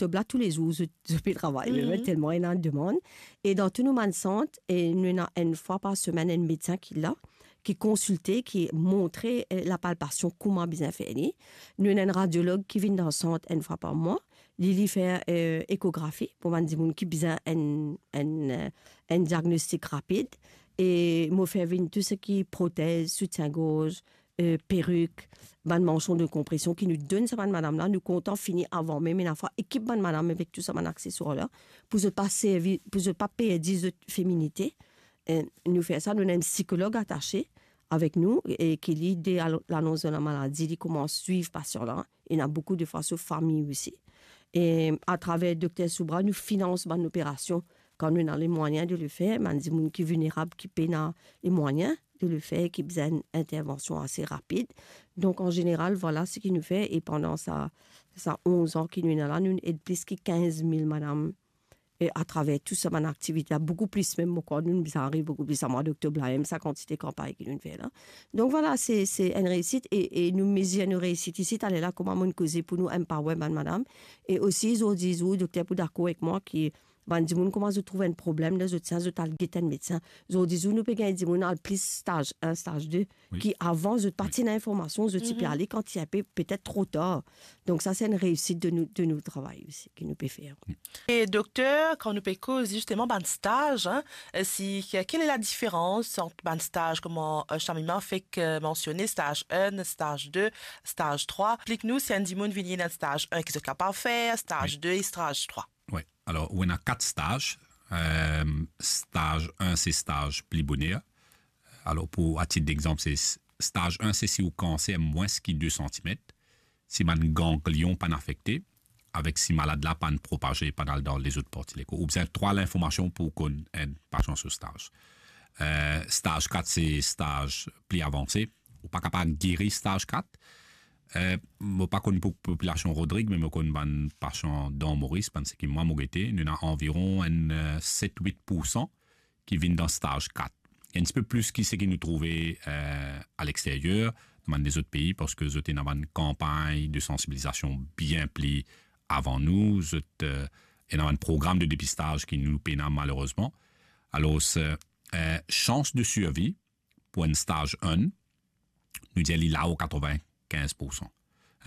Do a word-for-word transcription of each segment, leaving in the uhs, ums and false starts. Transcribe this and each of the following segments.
dokter la, toulezour, zot, zot pe travay, me, me telman ena demann. E dan tou nou bann sant, e nou ena enn fwa par semenn enn medsin ki la, ki konsilte, ki montre, eh, lapalpasion, kouma bizin fer li. Nou ena enn radiolog ki vinn dan sant enn fwa par mwa. Li, li fer, eh, ekografi pou bann dimoun ki bizin enn, enn, eh, enn diagnostik rapid. E mo fer vinn tou seki protez, soutien-gorz, eh, perik, bann mansion de konpresion ki nou donn sa bann madam la. Nou kontan fini avan mem ena fwa ekip bann madam avek tou sa bann akseswar la, pou zot pa servi, pou zot pa perdi zot feminite. Eh, nou fer sa, nou ena enn psikolog atase avek nou, e ki li, de al-, lanons de lamaladi, li koumans swiv pasian la. Ena boukou de fwa so fami osi. E atraver Dokter Soubra, nou finans bann operasion kan nou ena lemwayin de le fer, bann dimoun ki vilnerab, ki pena lemwayin de le fer, ki bizin enn intervansion ase rapid. Donk, an zeneral, vwala seki nou fer, e pandan sa, sa onz an ki nou ena la, nou ed plis ki kinz mil madam, e atraver tou sa bann aktivite la, boukou plis mem, mo krwar nou bizin ariv boukou plis amwa doktob la, mem sa kantite kanpagn ki nou fer la. Donk vwala, se, se enn reisit, e, e nou mezir nou reisit isi, taler la, kouma mo'nn koze pou nou empower bann madam. E osi, zordi zour, dokter pou dakor ek mwa ki bann dimoun kouma zot trouv enn problem dan zot sein, zot al get enn medsin. Zordi zour, nou pe gagn dimoun al plis staz enn, staz de, wi, ki avan, zot pa, wi, ti ena informasion, zot ti pe, mhm, ale kan ti inpe petet tro tar. Donk sa, se enn reisit de nou, de nou travay osi, ki nou pe fer. E dokter, kan nou pe koz zisteman bann staz, hein, si, quelle est la différence entre bann staz, kouma, euh, Shamima fek, euh, mansione, staz enn, staz de, staz trwa? Explik nou, si enn dimoun vini dan staz enn, ki zot kapav fer, staz, wi, de e staz trwa. Wi, alor, ou ena kat staz. Euh, staz enn, se staz pli boner. Alor, pou, a tit dexanp, se s-, staz enn, se si ou kanser mwins ki de santimet, si bann ganglion pa'nn afekte, avek si malad la pa'nn propaze, pa'nn al dan lezot parti lekor. Ou bizin trwa linformasion pou konn enn pasian so staz. Euh, staz kat, se staz pli avanse. Ou pa kapav geri staz kat. Euh, mo pa konn pou popilasion Rodrig, me mo konn bann pasian dan Moris, bann seki mwa mo gete, nou ena anviron enn, euh, set wit poursan ki vinn dan staz kat. Enn tipe plis ki seki nou trouve, euh, alexteryer, dan bann lezot pei, parski zot ena bann kanpagn de sansibilizasion bien pli avan nou, zot, euh, ena bann program de depistaz ki nou pena malerezman. Alor, euh, sans de sirvi pou enn staz enn, nou dir li lao katrevinkinz poursan.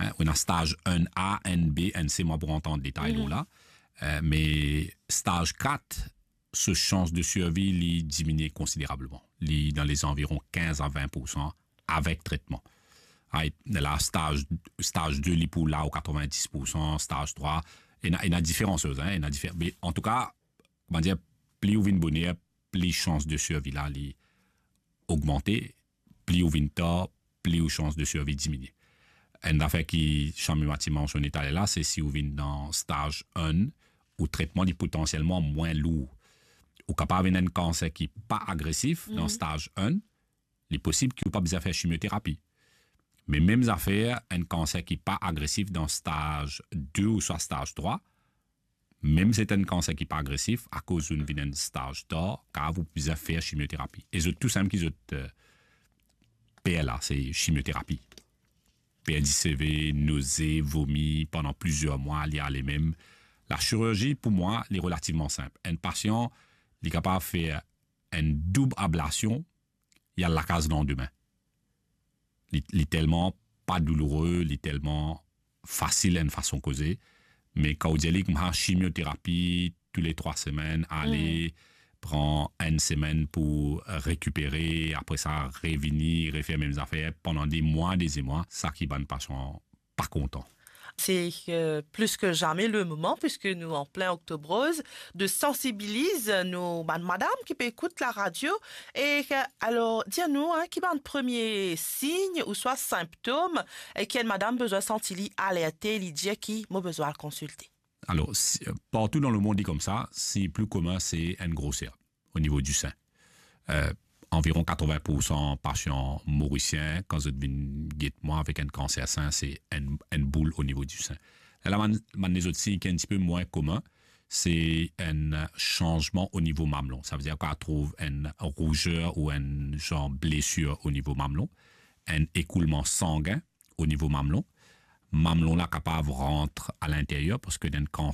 Hein, ou ena staz enn A, enn B, enn C, mo pou rant an detay lor la. Euh, me staz kat, so sans de sirvi, li diminie konsiderableman. Li dan lezanviron kinz a vin poursan avek tretman. Ay, la, staz, staz de, li pou lao katrevindis poursan, staz trwa, ena, ena diferan soz, hein, ena difer-, me antouka, kouma dir, pli ou vinn boner, pli sans de sirvi la, li ogmante, pli ou vinn tar, pli ou sans de sirvi diminie. Enn zafer ki Shamima ti mansione taler la, se si ou vinn dan staz enn, ou tretman li potansielman mwin lour. Ou kapav ena enn kanser ki pa agresif dan staz enn, li posib ki ou pa bizin fer chimioterapi. Me mem zafer, enn kanser ki pa agresif dan staz de ouswa staz trwa, mem si se enn kanser ki pa agresif, akoz ou vinn enn staz tar, kapav ou bizin fer chimioterapi. E zot tou same ki zot, euh, per la, se chimioterapi. Perdi seve, noze, vomi pandan plizier mwa, li ale mem. Lasirzi, pou mwa, li relativman sinp. Enn pasian, li kapav fer enn doub ablasion, li al lakaz landime. Li, li telman pa douloure, li telman fasil enn fason koze, me kan ou dir li koumsa chimioterapi toule trwa semenn, ale, pran enn semenn pou rekipere, apre sa revini, refer mem zafer pandan de mwa, de mwa, sa ki bann pasian pa kontan. C'est, euh, plus que jamais le moment, puisque nous en plein Octobre Rose, de sensibiliser nos, bann madam ki pe ekout la radio. E, euh, alor, dir nou, hein, ki bann premie sign ouswa sinptom, e ki enn madam bizin santi li alerte, li dir ki mo bizin al konsilte. Alor, si, euh, partou dan lemond, li koumsa, sign pli komin, se enn groser o nivo di sin. Euh, anviron katrevin poursan pasian morisien, kan zot vinn get mwa avek enn kanser sin, se enn, enn boul o nivo di sin. Lerla bann, bann lezot sign ki enn tipe mwin komin, se enn sanzman o nivo mamlon. Savedir kan ou trouv enn rouzer ou enn zan blesir o nivo mamlon, enn ekoulman sangin o nivo mamlon. Mamlon la kapav rant alinteryer, parski dan enn kanser,